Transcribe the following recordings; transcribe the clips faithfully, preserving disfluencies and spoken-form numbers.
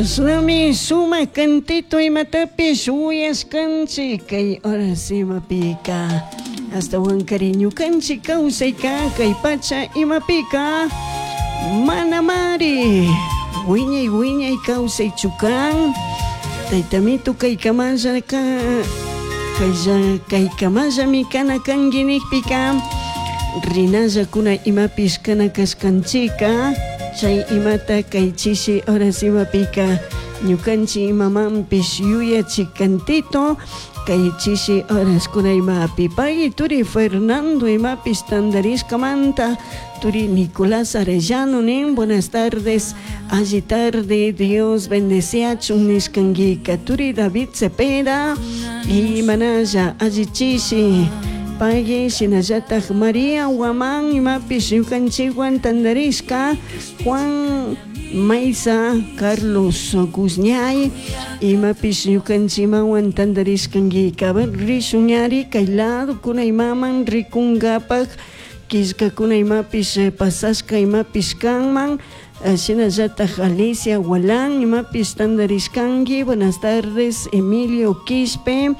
Shinami sumak cantito imatapish uyashkanchik kay horas imapika ashtawankari ñukanchik kawsayka kay pacha imapika manamari wiñay wiñay kawsaychu kan taytamito kaykamalla ka kaylla kaykamallami kana kanki nikpika rinallakuna imapish kana kashkanchika chay imata kay chishi horas imapika ñukanchik imamanpish yuyachik cantito kay chishi horaskuna imapi pay turi Fernando imapish tantarishkamanta turi Nicolás Arellano nin buenas tardes alli tarde Dios bendeciachun nishkankika turi David Cepeda y manalla alli chishi pagui shinallatak María Guamán imapish ñukanchikwan tantarishka Juan Maiza Carlos Guzñay imapish ñukanchikmawan tantarishkankika a ver rishun ñari kay ladokuna imaman rikunkapak killkakuna imapish pasashka imapish kanman shinallatak Alicia Gualán imapish tantarishkanki buenas tardes Emilio Quispe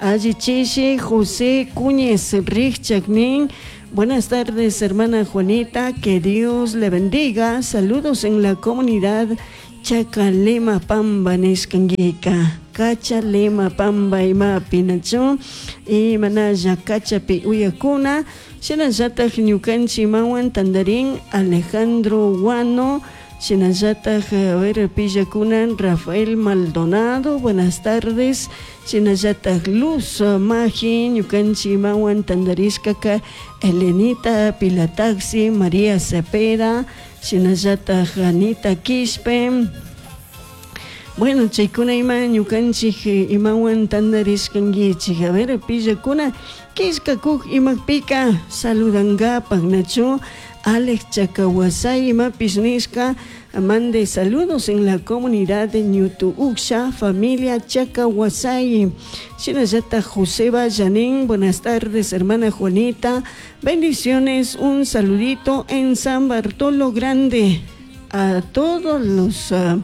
alli chishi José Cuñez Richak nin Buenas tardes, hermana Juanita, que Dios le bendiga. Saludos en la comunidad Chacalema Pamba nishkanguika. Cachalema Pamba imapi nachu y manalla cachapi uyakuna. Shinallatak ñukanchik imawan tandarin Alejandro Guano. Shinallatak a ver pillakuna Rafael Maldonado, buenas tardes. Shinallatak Luz Maji, ñukanchik imawan tandarishkaka Elenita Pilataxi, María Cepeda, shinallatak Anita Quispe. Bueno, chaykuna ima ñukanchik imawan tantarishkankichik. A ver, pillakuna killkakuk imapika saludankapak nachu Alex Chacahuasay imapish nishka mande saludos en la comunidad de Ñutu Uksha, familia Chacahuasay. Shinallatak José Bayanín, buenas tardes, hermana Juanita. Bendiciones, un saludito en San Bartolo Grande a todos los, uh,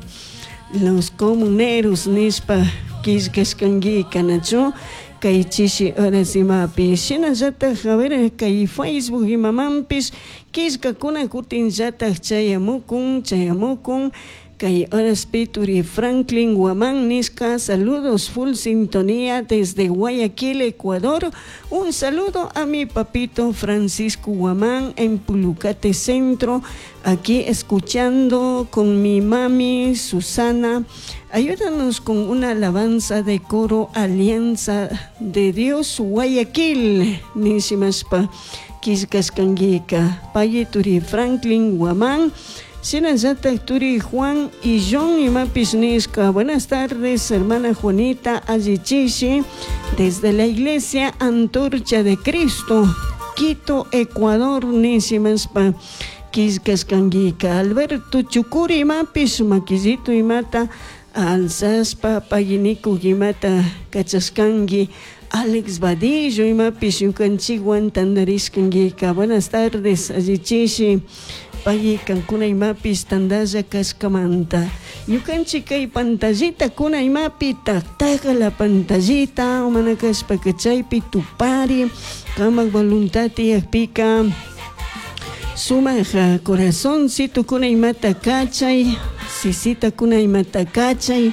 los comuneros nishpa killkashkankika nachu kay chishi horas imapi shinallatak a ver kay Facebook imamanpish killkakuna kutinllatak chayamukun chayamukun kay horaspi turi Franklin Guamán nishka saludos full sintonía desde Guayaquil, Ecuador. Un saludo a mi papito Francisco Guamán en Pulucate Centro, aquí escuchando con mi mami Susana. Ayúdanos con una alabanza de coro Alianza de Dios Guayaquil. Nishimashpa killkashkankika payi turi Franklin Guamán. Shinallatak turi Juan y John imapish nishka. Buenas tardes, hermana Juanita Allichishi, desde la iglesia Antorcha de Cristo, Quito, Ecuador, nishimashpa killkashkankika. Alberto Chucuri imapish makillito imata alzashpa payiniku imata kachashkanki. Alex Vadillo imapish ñukanchikwan tantarishkankika. Buenas tardes, allichishi. Payi kankuna imapish tantalla kashkamanta. Ñukanchik kay pantallita kuna imapi taktaka la pantallita mana kashpaka chaypi tupari kamak voluntad tiyakpika sumak corazoncito kuna imata kachay sisita kuna imata kachay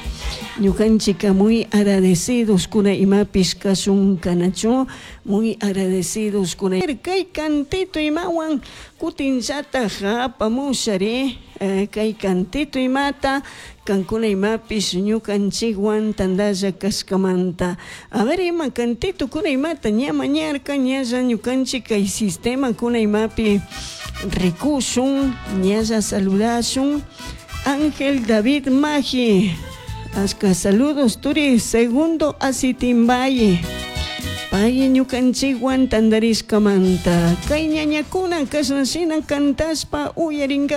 ñukanchika muy agradecidos kuna imapish kashun kanachu muy agradecidos kuna kay cantito imawan kutinllatak apamushari kay cantito imata kankuna imapish ñukanchikwan tantalla kashkamanta a ver ima cantito kuna imata ña mañarka ñalla ñukanchik kay sistema kuna imapi rikushun ñalla saludashun Ángel David Maji Ashka saludos turi segundo Asitimbaye Pay ñukanchikwan tantarishkamanta kay ñañakuna kashnashina cantashpa uyarinka.